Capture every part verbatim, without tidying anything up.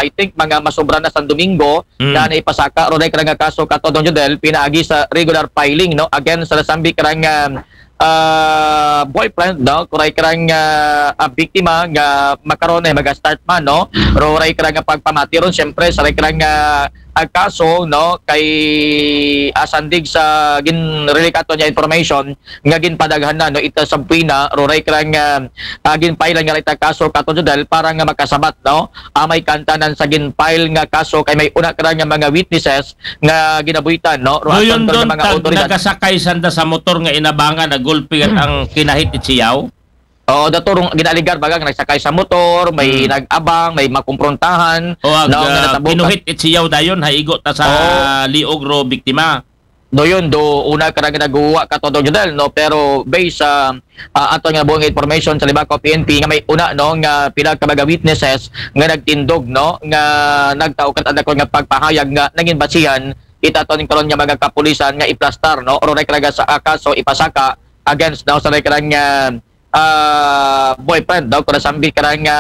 I think, mga masobra na sa Domingo, Mm. na naipasaka, ro, ray kara nga kaso, Katodong Jodel, pinaagi sa regular filing, no, against sa nasambit kara nga, ah, boyfriend, no, kuray kara nga, ah, biktima nga makaron ay mag-start man, no, ro, ray kara nga pagpamati ron, siyempre, sa ray kara nga, ah, kaso, no, kay, ah, sandig sa ginrelate kato nga information, nga ginpadaghan na, no, ita subpoena, ro, ray kara nga, ah, ginpailan nga ray ta kaso, Katodong Jodel, para nga makasabat, no, ah, may kantanan sa ginfile nga kaso kay may una kara nga mga witnesses nga ginabuhitan, no? Ro, aton Doon, to nga mga tag otoridad. Nagasakay sanda sa motor nga inabangan, nagulpi at ang kinahit itsiyaw? Oo, dato rong ginaaligar baga nga nagsakay sa motor, may Hmm. nag-abang, may makumprontahan, O ag, no, nga ah, natabo ka- kinuhit itsiyaw dayon, haigo ta sa Oo. liog ro biktima. Doon, do, una kara nga naguwa, Katodong Jodel, no? Pero based sa, ah, ato nga buong information sa Libakaw P N P nga may una, no, nga pila ka mga witnesses nga nagtindog, no, nga nagtao kat adakon nga pagpahayag nga nangin basihan itaton karon nga mga kapulisan nga iplastar, no, ro, ray kara nga sa kaso ipasaka against, no, sa ray kara nga, ah, boyfriend, no, kung nasambit kara nga,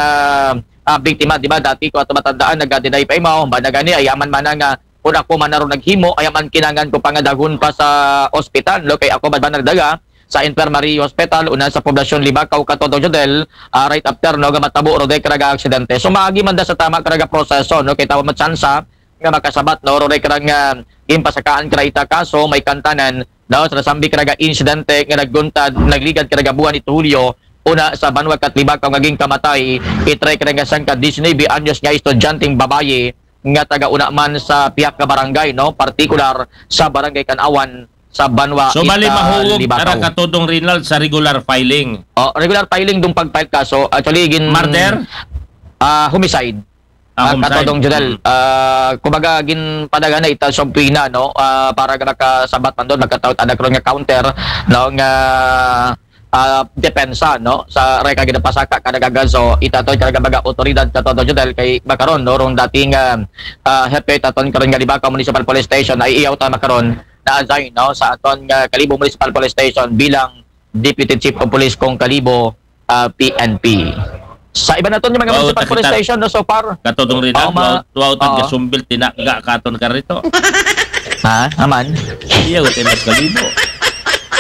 ah, biktima, di ba, dati ko ato matandaan, nag-deny pa imaw, ba na gani, ayaman man na nga, kung ako man na ron naghimo, ayaman kinangan ko pangadagon pa sa ospital, no, kay ako ba, ba nagdaga sa Infirmary Hospital, una sa Poblasyon Libakaw, Katodong Jodel, ah, right after, no, nga matabo ro, ray kara nga aksidente. So, maagi man da sa tama kara nga proseso, no, kay tawa matsansa, nga makasabat, no, ro, ray kara nga, ah, ginpasakaan kara ita kaso, may kantanan, no, sa nasambit kara nga insidente nga nagguntad, nagligad kara nga buwan ito Hulyo, una sa banwa kat Libakaw nga ginkamatay, itray kara nga sangka diecinuebe anyos nga estudyanteng babaye nga taga una man sa pihak nga barangay, no, partikular sa Barangay Kanawan sa banwa So, bali ita mahugog Libakaw. Ara, Katodong Rinald, sa regular filing. Oh, regular filing dong pag-file kaso. Actually, gin- Murder? Ah, homicide. Ah, ah, homicide. Katodong Jodel, Mm. ah, kumbaga, ginpadaghan na ita subpoena, no? Ah, para nga makasabat man doon, magkataot anak ron nga counter, no? Nga, ah, depensa, no? Sa ray kara nga ginapasaka kara nga kaso, itaton kara nga mga otoridad, Katodong Jodel, kay makaron, no? Rong dating, ah, ah, hepe taton karon nga Libakaw Municipal Police Station, ay iyaw ta makaron, na-assign, no? Sa aton nga Kalibo Municipal Police Station bilang Deputy Chief of Police kong Kalibo, ah, P N P. Sa iba naton nga mga Wow, municipal police takita. Station, no, so far. Katodong Rinald, Oo, ma-, wow, wow, tag oo. Gasumbil, tinaga katon karito. Ha? Aman? Iya, uti mas Kalibo.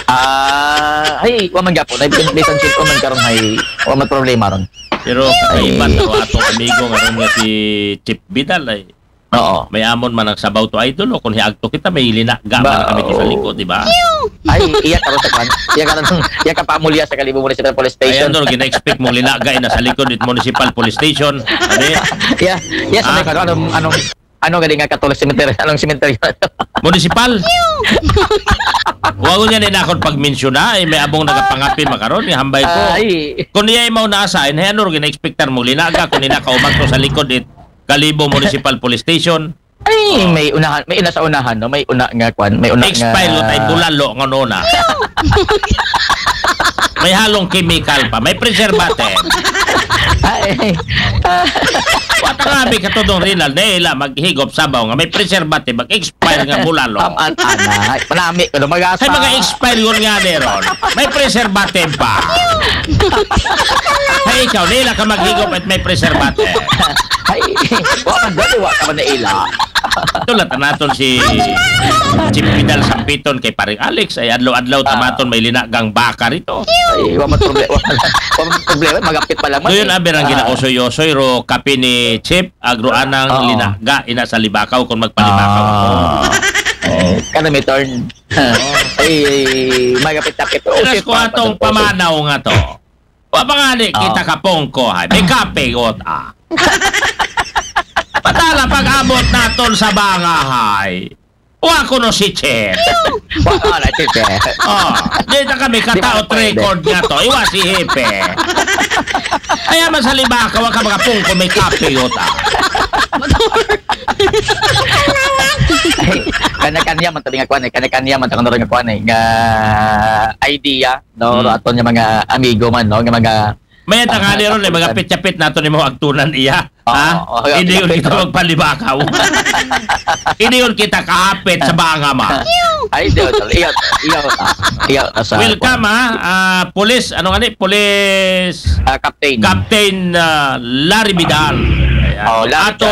Ah, ay, wa man gyapon. Ay, bisan, bisan sitko man karon, ay, wa man problema ron. Pero kakaiba Ay. to atong amigo nga ron nga si Chief Vidal ay Oo. May amon man ang sabaw to, idol, o kung hiagto kita, may linaga man Ba-, kami to sa oo. likod, di ba? Ay, iya karon sa kwan. Iya karon, iya ka pamulya sa Kalibo Municipal Police Station. Ay, ano, gina-expect mong linaga ina sa likod it Municipal Police Station. Ano eh? Iya, iya, sa Ah? may kwan, anong, anong, ano gani nga Catholic cemetery? Anong cemetery? Municipal? Huwag niya na akong pagmensyona, ay may abong nagapangapi makaron, nga hambay ko. Ay. Kung iya imaw nasa, ay, ano, gina-expectar mo, linaga, kung ina ka umagto sa likod, it Kalibo Municipal Police Station. Ay, Oh. may unahan, may ina sa unahan, no? May una nga kwan, may una Expire nga lo tayo bulalo nga nona. May halong chemical pa, may preservative. Ay. Wata nga, may katudong Rinald, na ila maghigop sabaw nga may preservative, mag-expire nga bulalo. Am-, an-, anay. Manami ko na mag-asa. Ay, mga expire yun nga, Deron. May preservative pa. Ay, ikaw, nila ka maghigop at may preservative. Ay, wa man dali, wa ka man naila. Tulad naton si Chief Vidal Sampiton kay Paring Alex, ay adlaw-adlaw Ah. tamaton may linagang baka rito. Ay, wa man problema, wa man, wa man problema, magapit pa lang man Doon eh. Aber ang Ah. ginausoy-usoy, ro kape ni Chief, agro anang Oo. linaga, ina sa libakaw kung magpalibakaw ako. Ah. Oo. Kana may turn. Ay, magapit-apit. Oh, Alas shit, kuwatong pa, pa, pa, pa. pamanaw nga to. Wa pa nga di Oo. kita kapungko, hay. May kape, got, ah. Patala pag-abot naton sa bangahay. Wa ko no si Chief. Wa ka na, Chief, eh. Oh, di na kami Di ba kataot pwede? record nga to. Iwa si Hipe. Kaya man sa libaka, wa ka makapungko, may kape, got, ah. Ay, kanya-kanya man tabi nga kwan, eh. Kanya-kanya man tabi nga kwan, eh. Nga idea. No, Hmm. aton nga mga amigo man, no, nga mga May tangali ron, eh, mga kapitan. pit-yapit nato ni mo agtunan iya. Oo, Ha? oo, Hindi yun kapit, kita no? magpalibakaw. Hindi yun kita kahapit sa banga ma. Ay, di, di, iyo, iyo, iyo, sa Welcome, ha? Ah, Police, ano nga ni? Police Ah, Captain. Captain, ah, Larry Vidal. Ayan. Oh, Larry Atong